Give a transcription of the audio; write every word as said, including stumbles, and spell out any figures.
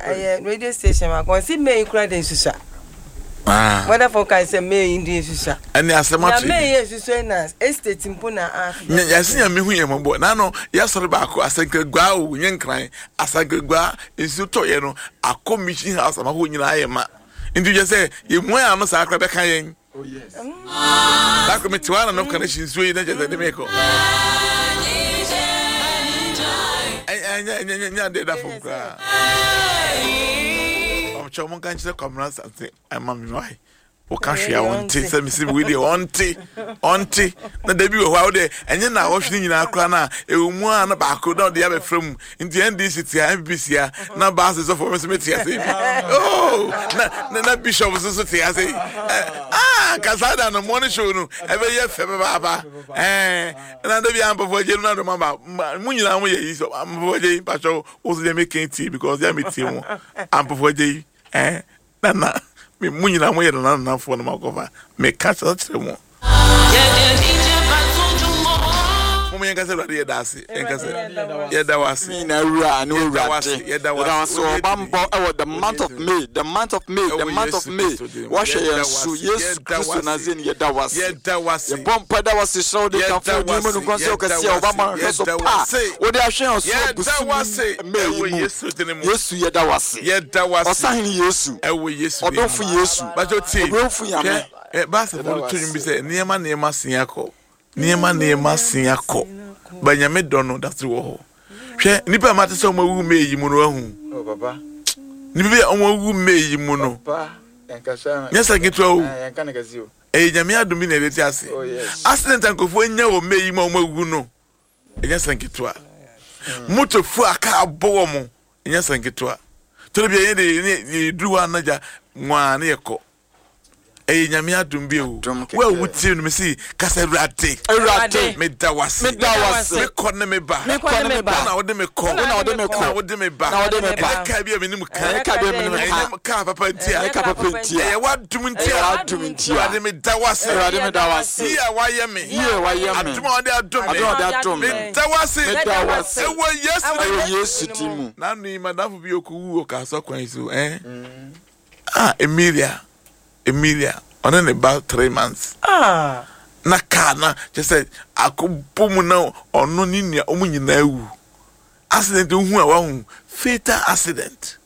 Ɛyɛ radio station baako, ɔsi May kura de nsusua. Ah. Weather forecast sɛ May yi de nsusua. Ɛne asɛm Na ato May yi. yɛ nsusua na estate mpo na afi. Yɛse Nyame hu yɛn mmɔbɔ. Nano yɛasɔre baako Asankragua o, nyɛ Nkran. Asankragua nsuo tɔeɛ no akɔ Mission House ama hɔ nyinaa ayɛ ma. Nti kyerɛ sɛ yɛmua yɛn ano saa koraa bɛka yɛn. Da koro mete hɔ a na nɔf connection nsuo yi na kyerɛ sɛ de mekɔ. Ɛnyɛ ɛnyɛ ɛnyɛ adeɛ da fam koraa. Ɔkyɛ mo nka nkyerɛ Kwamina Asante ɛma me wae. Woka hwee a ɔnte sɛ mesi wei deɛ ɔnte ɔnte na da bi wɔ hɔ a wode ɛnyɛ na awɔhwe no nyinaa koraa no a ɛwɔ mu a na baako na ɔde abɛfra mu. Nti N D C te ha, N P P si ha, na baase sɔfo me so mete ase bi, oh, na na na bishop nso so te ase yi. Ah, kasa da no morning show no ɛbɛyɛ fɛ papaapa. Ɛɛ na da bi a mpɔfo agye no na dɔm aba mo nyinaa mo yɛ yi so mpɔfo agye yi mpakyɛw wo so deɛ meka tie because deɛ metie mo ampɔfo agye yi ɛɛ nana me mo nyinaa mo yɛ nana nanafoɔ no makɔfa meka kyerɛ kyerɛ mo mo yɛn kasa. Awurade, yɛda ase. Yɛn kasa, yɛda wo ase. Na wura ne Yɛda wo owurade ase, yɛda wo yɛda ase. wo ase ɔbammɔ ɛwɔ the month of May, the month of May, the Ɛwɔ month of Yesu May. Kristo din mu. Wɔhwɛ Yɛda yɛn wo so ase, Yesu yɛda wo Kristo ase. Nazarene, yɛda wo ase. Yɛda wo ase. Yɛbɔ mpa da wo ase, hyerɛ wo de Yɛda kamfo wo din wo mu ase, no nkɔn sɛ yɛda wokɛseɛ wo a wobama ase, hwɛ so yɛda wo pa ase. wode ahwɛ yɛn so Yɛda wo ase. bosome May Ɛwɔ yi mu. Yesu din mu. Yesu, yɛda wo ase. Yɛda wo ase. Ɔsahene Yesu. Ɛwɔ Yesu din mu. Ɔdomfo Yesu. Bàtò tie. Ɔbrɛmfo Nyame. Hwɛ ɛ baasefo no to nwom bi sɛ nneɛma nneɛma sen akɔ, nneɛma nneɛma sen akɔ, ba Nyame dɔ no da so wɔ hɔ. Hwɛ, nipa a mate sɛ ɔmo awu May yi mu no, ahu Oh, papa. nipa bi a ɔmo awu May yi mu no. Papa. Yɛnkasa. Nyɛ sɛ nketewa o. Ah, yɛnka ne kɛse o. Ɛyɛ Nyame adom bi na yɛde te ase. Oh, yes. Accident a nkurɔfoɔ anya wɔ May yi mu a ɔmo awu no, ɛnyɛ sɛ nketewa. Motofo a kaa bɔ wɔ mo, ɛnyɛ sɛ nketewa. Tɔrɔ bi a yɛn de yɛn yɛduru hɔ anagya nwaa ne yɛkɔ. Ɛyɛ Nyame adom bi o. Adom kɛkɛ. Wo a wotie no, mesi kasa, Awurade, Awurade, meda wase. Meda wo ase. Mekɔ ne me ba. Mekɔ ne me ba. Wo na wode me kɔ. Wo na wode me Wo na kɔ. wode me ba. Na wode me ba. Ɛnyɛ kaa bi a menim ka. Ɛnyɛ kaa bi a menim ka. Ɛnyɛ kaa papa nti a. Ɛnyɛ kaa papa nti a. Ɛyɛ w'adom nti a. Ɛyɛ w'adom nti a. Awurade, meda wase. Awurade, meda wo ase. Yie a wayɛ me. Yie a wayɛ me. Adom a wɔde adom me. Adom a wɔde adom me. Meda wase. Meda wo ase. Ɛwɔ Yesu Ɛwɔ din mu. Yesu din mu. Nanu yi madamfo bi okowu wɔ kaasa kwan yi so ɛn ah, Emilia, Emilia, ɔne ne ba three months. Ah. Na kaa na kyerɛ sɛ akɔbɔ mu na ɔno ne nua ɔmo nyinaa wu. Accident ohu a wahu, fatal accident.